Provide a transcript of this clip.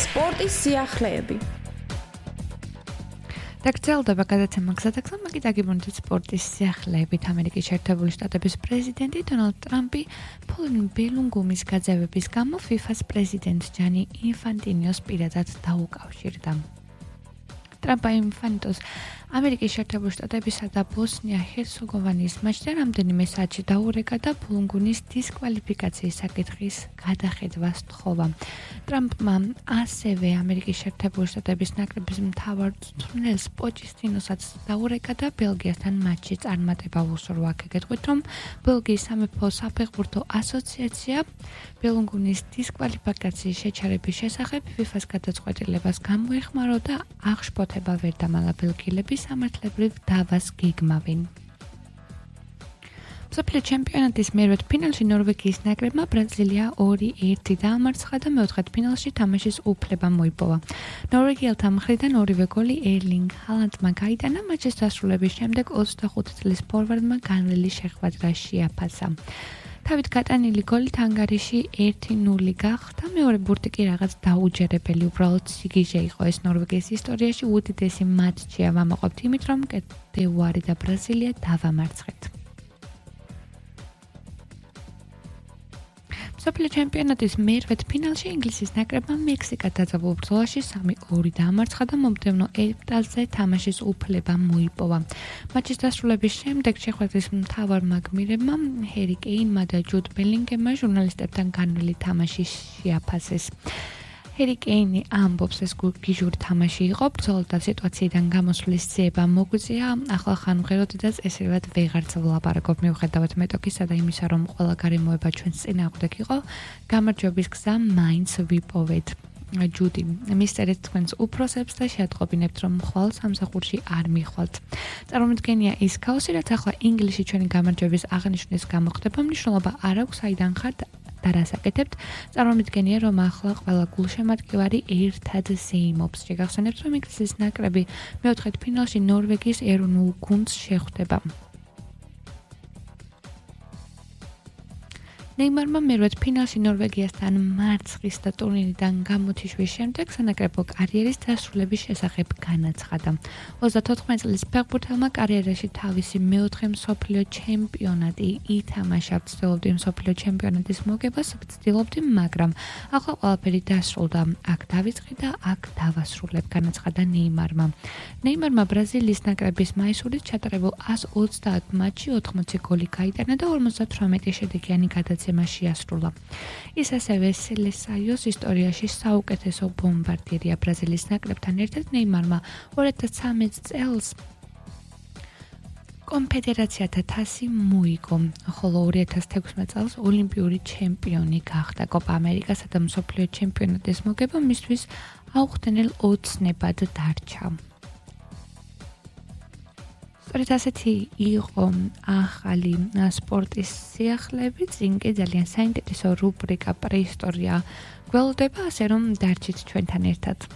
სპორტის სიახლეები. დაგრძელდება გადაცემა გზადაგზა, მაგით აგიბრუნდით სპორტის სიახლეებით. ამერიკის შეერთებული შტატების პრეზიდენტი დონალდ ტრამპი ბელუნგუმის გაძევების გამო FIFA-ს პრეზიდენტ ჯანი ინფანტინოს პირადად დაუკავშირდა. ტრამპა ინფანტინოს ამერიკის შეერთებული შტატებისა და ბოსნია-ჰერცეგოვინის მაჩზე რამდენიმე საათში დაურეკა და ბელუნგუმის დისკვალიფიკაციის საკითხის გადახედვას თხოვა. ტრამპმა ასევე ამერიკის შეერთებული შტატების ნაკრების მთავარ მწვრთნელს პოჩეტინოსაც დაურეკა და ბელგიასთან მატჩი წარმატება უსურვა. გეტყვით, რომ ბელგიის სამეფო საფეხბურთო ასოციაცია ბელუნგუმის დისკვალიფიკაციის შეჩერების შესახებ FIFA-ს გადაწყვეტილებას გამოეხმარო და აღშფოთება ვერ დამალა ბელგიელები სამართლებრივ დავას გეგმავენ. მსოფლიო ჩემპიონატის მერვედ ფინალში ნორვეგიის ნაკრებმა ბრაზილია 2-1 დაამარცხა და მეოთხედ ფინალში თამაშის უფლება მოიპოვა. ნორვეგიელთა მხრიდან ორივე გოლი ერლინგ ჰალანდმა გაიტანა, მატჩის დასრულების შემდეგ 25 წლის ფორვარდმა განვლილი შეხვედრა შეაფასა. თავით გატანილი გოლით ანგარიში 1-0 გახდა, მეორე ბურთი კი რაღაც დაუჯერებელი, უბრალოდ სიგიჟე იყო. ეს ნორვეგიის ისტორიაში უდიდესი მატჩია, ვამაყობთ იმით, რომ კოტ-დ'ივუარი და ბრაზილია დავამარცხეთ. მსოფლიო ჩემპიონატის მერვედ ფინალში ინგლისის ნაკრებმა მექსიკას დაძაბულ ბრძოლაში 3-2 დაამარცხა და მომდევნო ეტაპზე თამაშის უფლება მოიპოვა. მატჩის დასრულების შემდეგ შეხვედრის მთავარმა გმირებმა ჰერი კეინმა და ჯუდ ბელინგემმა ჟურნალისტებთან განვლილი თამაში შეაფასეს. ჰერი კეინი ამბობს, ეს გიჟური თამაში იყო, ბრძოლა და სიტუაციიდან გამოსვლის ძიება მოგვიწია, ახლა ხანმღეროდი და წესრიგად ვეღარც ვლაპარაკობ, მიუხედავად მეტოქისა და იმისა, რომ ყველა გარემოება ჩვენს წინააღმდეგ იყო, გამარჯვების გზა მაინც ვიპოვეთ. ჯუდი, მისწერეთ თქვენს უფროსებს და შეატყობინებთ, რომ ხვალ სამსახურში არ მიხვალთ. წარმომიდგენია ის ქაოსი, რაც ახლა ინგლისში ჩვენი გამარჯვების აღნიშვნის გამო ხდება, მნიშვნელობა არ აქვს, საიდან ხართ და რას აკეთებთ. წარმომიდგენია, რომ ახლა ყველა გულშემატკივარი ერთად ზეიმობს. შეგახსენებთ, რომ ინგლისის ნაკრები მეოთხედ ფინალში ნორვეგიის ეროვნულ გუნდს შეხვდება. ნეიმარმა მერვედ ფინალში ნორვეგიასთან მარცხის და ტურნირიდან გამოთიშვის შემდეგ სანაკრებო კარიერის დასრულების შესახებ განაცხადა. 34 წლის ფეხბურთელმა კარიერაში თავისი მეოთხე მსოფლიო ჩემპიონატი ითამაშა. ვცდილობდი მსოფლიო ჩემპიონატის მოგებას, ვცდილობდი, მაგრამ ახლა ყველაფერი დასრულდა. აქ დავიწყე და აქ დავასრულებ, განაცხადა ნეიმარმა. ნეიმარმა ბრაზილიის ნაკრების მაისურით ჩატარებულ 130 მატჩში 80 გოლი გაიტანა და 58 შედეგიანი გადაცემა შეასრულა. ის ასევე სელესაიოს ისტორიაში საუკეთესო ბომბარდირია. ბრაზილიის ნაკრებთან ერთად ნეიმარმა 2013 წელს კონფედერაციათა თასი მოიგო, ხოლო 2016 წელს ოლიმპიური ჩემპიონი გახდა. კოპა ამერიკასა და მსოფლიო ჩემპიონატის მოგება მისთვის აუხსნელ ოცნებად დარჩა. სწორედ ასეთი იყო ახალი სპორტის სიახლეები, წინ კი ძალიან საინტერესო რუბრიკა პრეისტორია გველოდება, ასე რომ დარჩით ჩვენთან ერთად.